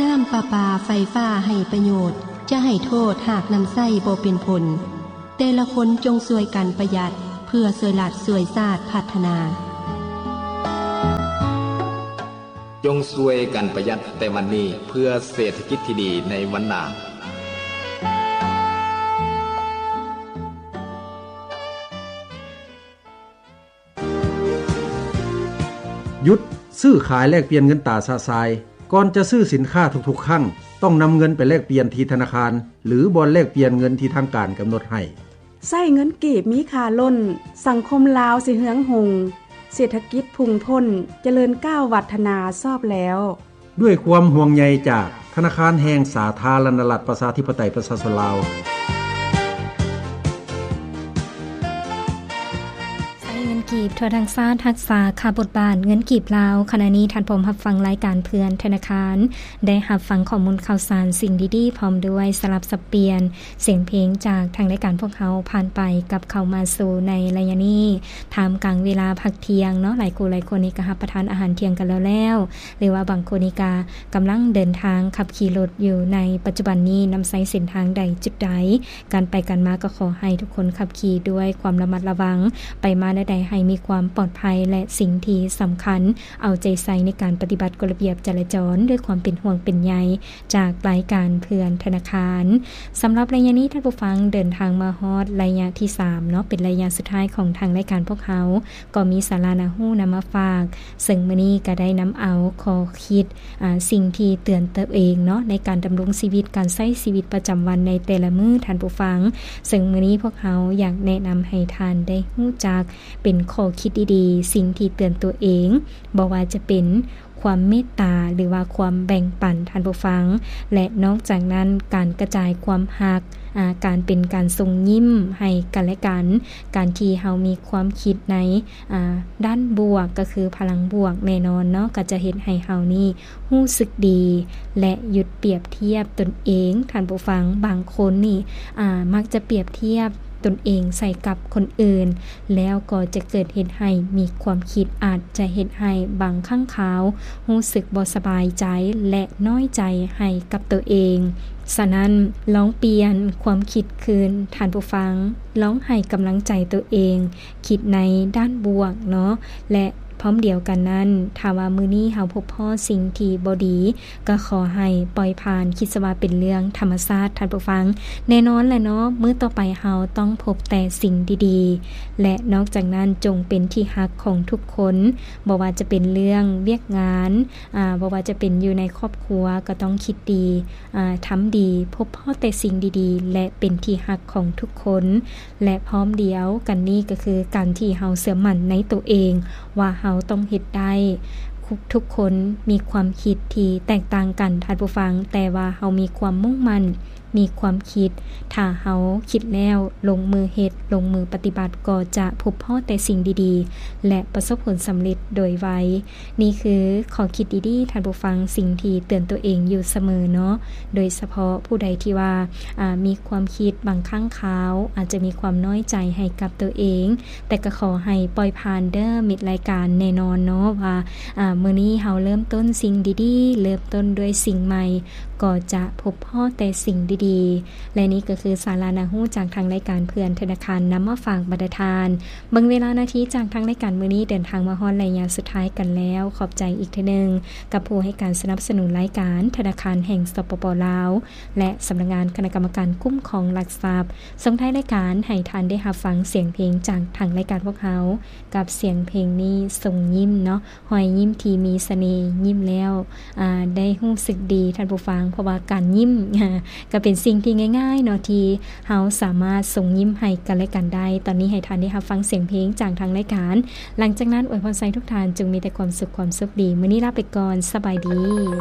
ນ້ຳປະປາໄຟຟ້າໃຫ້ປະໂຫຍດ, ຈະໃຫ້ໂທດຫາກນຳໃຊ້ບໍ່ເປັນຜົນ. ແຕ່ລະຄົນຈົ່ງຊ່ວຍກັນປະຢັດ ເພື່ອຊ່ວຍລັດຊ່ວຍຊາດພັດທະນາ. ຈົ່ງຊ່ວຍກັນປະຢັດແຕ່ວັນນີ້ ເພື່ອເສດຖະກິດທີ່ດີໃນວັນໜ້າ. ຢຸດຊື້ຂາຍແລກປ່ຽນເງິນຕາຊະຊາຍ. ກ່ອນຈະຊື້ສິນຄ້າທຸກໆຄັ້ງ, ຕ້ອງນຳເງິນໄປແລກປ່ຽນທີ່ທະນາຄານ ຫຼື ບ່ອນແລກປ່ຽນເງິນທີ່ທາງການກຳນົດໃຫ້. ໃຊ້ເງິນກີບມີຄ່າລົ້ນ, ສັງຄົມລາວຊິເຮືອງຮຸ່ງ, ເສດຖະກິດພຸ່ງພົ້ນ, ຈະເລີນກ້າວວັດທະນາຊອບແລ້ວ. ດ້ວຍຄວາມຫ່ວງໃຍຈາກທະນາຄານແຫ່ງສາທາລະນະລັດ ປະຊາທິປະໄຕ ປະຊາຊົນລາວ. ໃຊ້ເງິນກີບທົ່ວທັງຊາດ ຮັກສາຄ່າບົດບາດເງິນກີບລາວ. ຂະນະນີ້ທ່ານພ້ອມຮັບຟັງລາຍການເພື່ອນທະນາຄານ, ໄດ້ຮັບຟັງຂໍ້ມູນຂ່າວສານ, ສິ່ງດີໆ ພ້ອມດ້ວຍສະຫຼັບສັບປ່ຽນ ສຽງເພງຈາກທາງລາຍການພວກເຮົາຜ່ານໄປກັບເຂົ້າມາສູ່ໃນໄລຍະນີ້ ທ່າມກາງເວລາພັກທ່ຽງເນາະ. ຫຼາຍຄູ່ຫຼາຍຄົນນີ້ກໍຮັບປະທານອາຫານທ່ຽງກັນແລ້ວໆ ຫຼືວ່າບາງຄົນນີ້ກໍກຳລັງເດີນທາງຂັບຂີ່ລົດຢູ່ໃນປັດຈຸບັນນີ້, ນຳໃຊ້ເສັ້ນທາງໃດຈຸດໃດ, ການໄປການມາກໍຂໍໃຫ້ທຸກຄົນຂັບຂີ່ດ້ວຍຄວາມລະມັດລະວັງ, ໄປມາແນວໃດໃຫ້ມີຄວາມປອດໄພ ແລະ ສິ່ງທີ່ສຳຄັນ ເອົາໃຈໃສ່ໃນການປະຕິບັດກົດລະບຽບຈະລາຈອນດ້ວຍຄວາມເປັນຫ່ວງເປັນໃຍ ຈາກລາຍການເພື່ອນທະນາຄານ. ສຳລັບໄລຍະນີ້ ທ່ານຜູ້ຟັງເດີນທາງມາຮອດໄລຍະທີສາມເນາະ, ເປັນໄລຍະສຸດທ້າຍຂອງທາງລາຍການພວກເຮົາ, ກໍມີສາລາໜ້າຮູ້ນຳມາຝາກ, ເຊິ່ງມື້ນີ້ກໍໄດ້ນຳເອົາຂໍ້ຄິດ, ອາ, ສິ່ງທີ່ເຕືອນຕົວເອງເນາະ, ໃນການດຳລົງຊີວິດ, ການໃຊ້ຊີວິດປະຈຳວັນໃນແຕ່ລະມື້, ທ່ານຜູ້ຟັງ. ເຊິ່ງມື້ນີ້ພວກເຮົາຢາກແນະນຳໃຫ້ທ່ານໄດ້ຮູ້ຈັກເປັນຂໍ້ຄິດດີໆ, ສິ່ງທີ່ເຕືອນຕົວເອງ, ບໍ່ວ່າຈະເປັນ ຄວາມເມດຕາ ຫຼືວ່າຄວາມແບ່ງປັນ, ທ່ານຜູ້ຟັງ. ແລະ ນອກຈາກນັ້ນ, ການກະຈາຍຄວາມຮັກ, ອາ, ການເປັນການສົ່ງຍິ້ມໃຫ້ກັນແລະກັນ, ການທີ່ເຮົາມີຄວາມຄິດໃນ, ອາ, ດ້ານບວກ, ກໍຄືພະລັງບວກແນ່ນອນເນາະ, ກໍຈະເຮັດໃຫ້ເຮົານີ້ຮູ້ສຶກດີ ແລະ ຢຸດປຽບທຽບຕົນເອງ, ທ່ານຜູ້ຟັງ. ບາງຄົນນີ້, ອາ, ມັກຈະປຽບທຽບ ຕົນເອງໃສ່ກັບຄົນອື່ນ, ແລ້ວກໍຈະເກີດເຮັດໃຫ້ມີຄວາມຄິດອາດຈະເຮັດໃຫ້ບາງຄັ້ງຄາວຮູ້ສຶກບໍ່ສະບາຍໃຈ ແລະ ນ້ອຍໃຈໃຫ້ກັບຕົວເອງ. ສະນັ້ນ, ລອງປ່ຽນຄວາມຄິດຄືນ, ທ່ານຜູ້ຟັງ, ລອງໃຫ້ກຳລັງໃຈຕົວເອງ, ຄິດໃນດ້ານບວກເນາະ, ແລະ ພ້ອມດຽວກັນນັ້ນ, ຖ້າວ່າມື້ນີ້ເຮົາພົບພໍ້ສິ່ງທີ່ບໍ່ດີ, ກໍຂໍໃຫ້ປ່ອຍຜ່ານ, ຄິດຊະວ່າເປັນເລື່ອງທຳມະຊາດ, ທ່ານຜູ້ຟັງ. ແນ່ນອນແຫຼະເນາະ, ມື້ຕໍ່ໄປເຮົາຕ້ອງພົບແຕ່ສິ່ງດີໆ ແລະ ນອກຈາກນັ້ນ, ຈົ່ງເປັນທີ່ຮັກຂອງທຸກຄົນ, ບໍ່ວ່າຈະເປັນເລື່ອງວຽກງານ, ອາ, ບໍ່ວ່າຈະເປັນຢູ່ໃນຄອບຄົວ, ກໍຕ້ອງຄິດດີ, ອາ, ທຳດີ, ພົບພໍ້ແຕ່ສິ່ງດີໆ ແລະ ເປັນທີ່ຮັກຂອງທຸກຄົນ. ແລະ ພ້ອມດຽວກັນນີ້ກໍຄືການທີ່ເຮົາເຊື່ອໝັ້ນໃນຕົວເອງ ວ່າເຮົາຕ້ອງເຮັດໄດ້. ທຸກຄົນມີຄວາມຄິດທີ່ແຕກຕ່າງກັນ, ທ່ານຜູ້ຟັງ, ແຕ່ວ່າເຮົາມີຄວາມມຸ່ງໝັ້ນ, ມີຄວາມຄິດ, ຖ້າເຮົາຄິດແລ້ວລົງມືເຮັດ, ລົງມືປະຕິບັດ, ກໍຈະພົບພໍ້ແຕ່ສິ່ງດີໆ ແລະ ປະສົບຜົນສຳເລັດໂດຍໄວ. ນີ້ຄືຂໍ້ຄິດດີໆ, ທ່ານຜູ້ຟັງ, ສິ່ງທີ່ເຕືອນຕົວເອງຢູ່ສະເໝີເນາະ, ໂດຍສະເພາະຜູ້ໃດທີ່ວ່າ, ອາ, ມີຄວາມຄິດບາງຄັ້ງຄາວ ອາດຈະມີຄວາມນ້ອຍໃຈໃຫ້ກັບຕົວເອງ, ແຕ່ກໍຂໍໃຫ້ປ່ອຍຜ່ານເດີ້ ມິດລາຍການ. ແນ່ນອນເນາະວ່າ, ອາ, ມື້ນີ້ເຮົາເລີ່ມຕົ້ນສິ່ງດີໆ, ເລີ່ມຕົ້ນດ້ວຍສິ່ງໃໝ່, ກໍຈະພົບພໍ້ແຕ່ສິ່ງດີໆ. ແລະ ນີ້ກໍຄືສາລະໜ້າຮູ້ຈາກທາງລາຍການເພື່ອນທະນາຄານນຳມາຝາກບັນດາທ່ານ. ເບິ່ງເວລານາທີຈາກທາງລາຍການມື້ນີ້ເດີນທາງມາຮອດໄລຍະສຸດທ້າຍກັນແລ້ວ. ຂອບໃຈອີກເທື່ອໜຶ່ງກັບຜູ້ໃຫ້ການສະໜັບສະໜູນລາຍການ, ທະນາຄານແຫ່ງ ສປປ ລາວ ແລະ ສຳນັກງານຄະນະກຳມະການຄຸ້ມຄອງຫຼັກຊັບ. ສົ່ງທ້າຍລາຍການໃຫ້ທ່ານໄດ້ຮັບຟັງສຽງເພງຈາກທາງລາຍການພວກເຮົາ, ກັບສຽງເພງນີ້ຊົງຍິ້ມເນາະ, ຮອຍຍິ້ມທີ່ມີສະເໜ່, ຍິ້ມແລ້ວ, ອາ, ໄດ້ຮູ້ສຶກດີ, ທ່ານຜູ້ຟັງ, ເພາະວ່າການຍິ້ມ, ກໍເປັນສິ່ງທີ່ງ່າຍໆເນາະ ທີ່ເຮົາສາມາດສົ່ງຍິ້ມໃຫ້ກັນແລະກັນໄດ້. ຕອນນີ້ໃຫ້ທ່ານໄດ້ຮັບຟັງສຽງເພງຈາກທາງລາຍການ. ຫຼັງຈາກນັ້ນ ອວຍພອນໃຫ້ທຸກທ່ານຈົ່ງມີແຕ່ຄວາມສຸກ, ຄວາມໂຊກດີ. ມື້ນີ້ລາໄປກ່ອນ. ສະບາຍດີ.